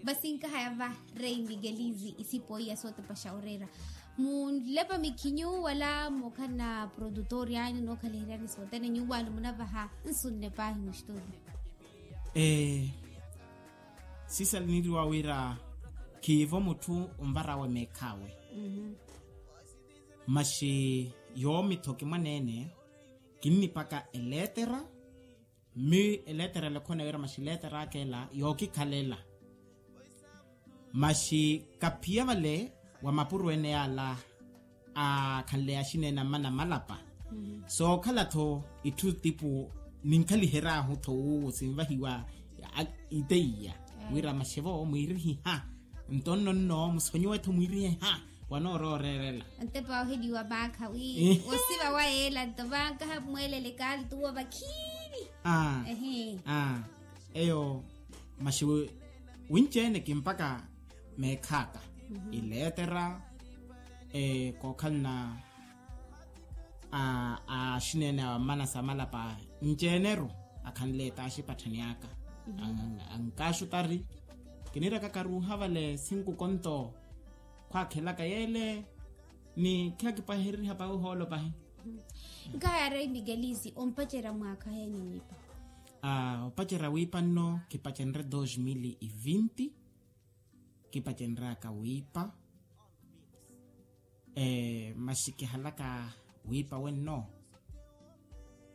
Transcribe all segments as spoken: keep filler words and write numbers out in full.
Vasinkahaya va rei migelizi isipo iya sotepa xa oreera. Munlepa mikhinyu wala mukhala na produtori anyu nokhaliheryani sotene nyuwani munavaha nsunne pahi mustudio. Sisa liniriwa wira khiivo mutthu onvarawe meekhawe. Maxi yoomi-tho kimwaneene kinnipaka eleetera. Mmi eleetera ela ekhona wira maxi eleetera aka ela yookikhalela. Maxi kaphiya vale wa mapuro ene yaala akhanle axineene ammana malapa. Sookhala-tho itthu tipu ninkhalihery'ahu-tho wuwo sinvahiwa iteiya wira maxevo mwiirihiha nto nno nno musonyiwe-tho mwiiriheha wanooroorerela. Ntepa oheliwa maakha wi osiva wa yeela nto vankaha mweelele kaali tuwo vakhini. Eyo maxi winci-ene kimpaka meekhaaka ileetera kookhalana a axineene awa mmana sa malapa nci-ene-ru akhanle etaaxi epatthani aka. Ankaxutari kinirakaka ruuha vale sinkuko nto khwaakhelaka yeele ni khiyakipahereriha pahi ohoolo pahi. Nkahaya rei mikelisi ompacerya mwaakha heni wiipa? Opacerya wiipa nno kipacenrye dos mili e vinti. Kipacenry'aka wiipa maxi kihalaka wiipa wenno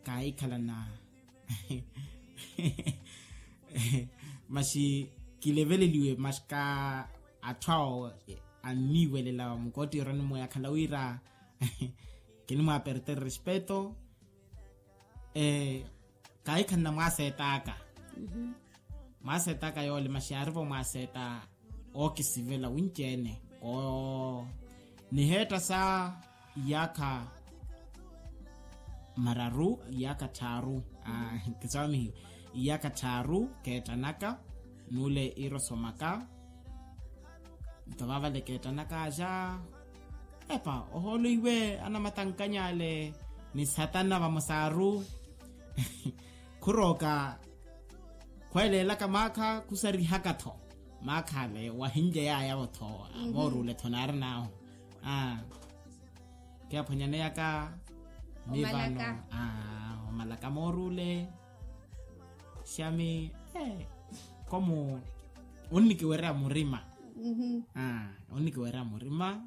kaahikhalana maxi kileveleliwe maxi ka atthu awo anniiwelela mukootti yorani mweya akhala wira kinimwaapertere respeto. Kaahikhalana mwaaseet'aka mwaaseet'aka yoole maxi yaarivo mwaaseetta ookisivela winci-ene koo niheetta sa iyaakha mararu iyaakha tthaaru. Kisaamihiwe iyaakha tthaaru keettanaka n'ule iira osomaka. Nto vaavale keettanaka axa epa ohoolo iwe anamatankany'ale ni satana vamosaru khurooka khweeleelaka maakha khusarihaka-tho maakha ale wahinlye yaayavo-tho. Mooruule-tho naarin'ahu kiyaphwanyaneyaka mivano omalaka mooruule. Xami komu onnikiwerya murima. Onnikiwerya murima.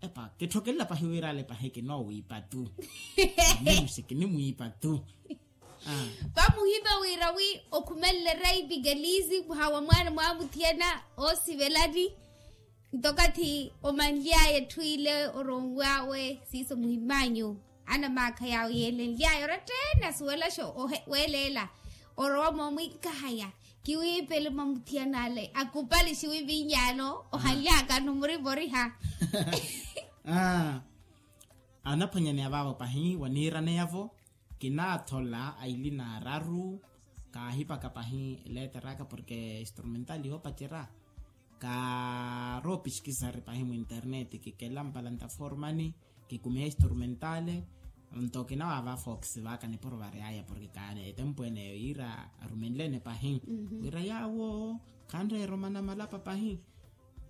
Epa kitthokelela pahi wira ale pahi kinoowiipa tu. Nimuxi kinimwiipa tu. Vamuhipa wira wi okhumenle rei pikelizi muhawa mwaana mwamuthiyana oosivelani. Nto okathi omanly'aya etthu ile oronw'awe siiso muhim'anyu anamaakha yaawe yeelenly'aya oratta-ene asuwelaxa weeleela orowa moomwinkahaya kiwiipele mwamuthiyana ale akupali xiwivinyaano ohanly'aka numurivoriha. Anaphwanyaneya vaavo pahi waniiraneyavo kinaathola aili n'araru. Kaahipaka pahi leeter'aka porke instrumental yoopacerya kaaroopisikisari pahi mwinterneti kikela mpala ntaformani kikumiha instrumentale. Nto kinawaava fox vaka nipuro varyaya porke kaani etempu eneyo yiira arumenlene pahi wira yaawo khanreera omana malapa pahi.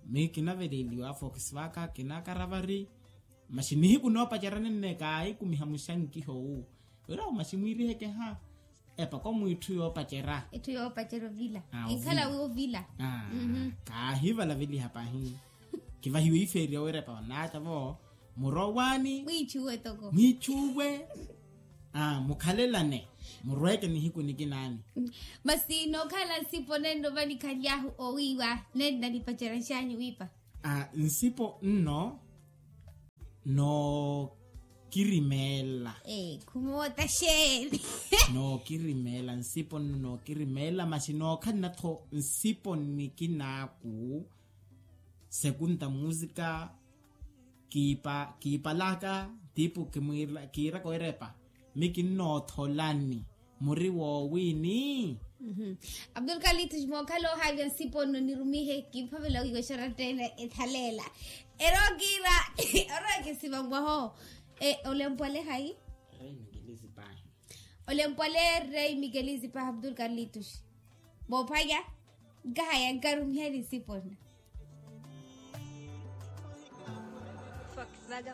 Mi kinaveleliwa fox vaka kinakara vari. Maxi nihiku noopacerya nenne kaahikumiha muxankiho wu wira maxi mwiirihekeha. Epa komu itthu yoopacerya. Itthu yoopacerya ovila ekhala wi ovila. Kaahivalaveliha pahi. Kivahiwe ifeeriya wira epa onaaca vo murowaani mwiichuwe toko mwiichuwe. Mukhalelane murweeke nihiku nikinaani. Masi nookhala nsipo nenno vanikhaly'ahu owiiwa nenna nipacerya nxanyu wiipa? Nsipo nno nookirimeela. Khumoota xeeni? Nookirimeela nsipo nno nookirimeela masi nookhalana-tho nsipo nikinaaku. Sekunta musika kiipalaka tipu kiiraka owerepa mi kinnootholani muri woowini. Abdulkalitus mookhala ohaavya nsipo nno nirumihe kiiphavela wiiwa exaratta ene ethaleela. Erookiira orooke siva mwaho. Olempwale hayi? Olempwale rei mikelizi pahi abdulkalitus. Moophwanya Nkahaya nkarumihani sipona.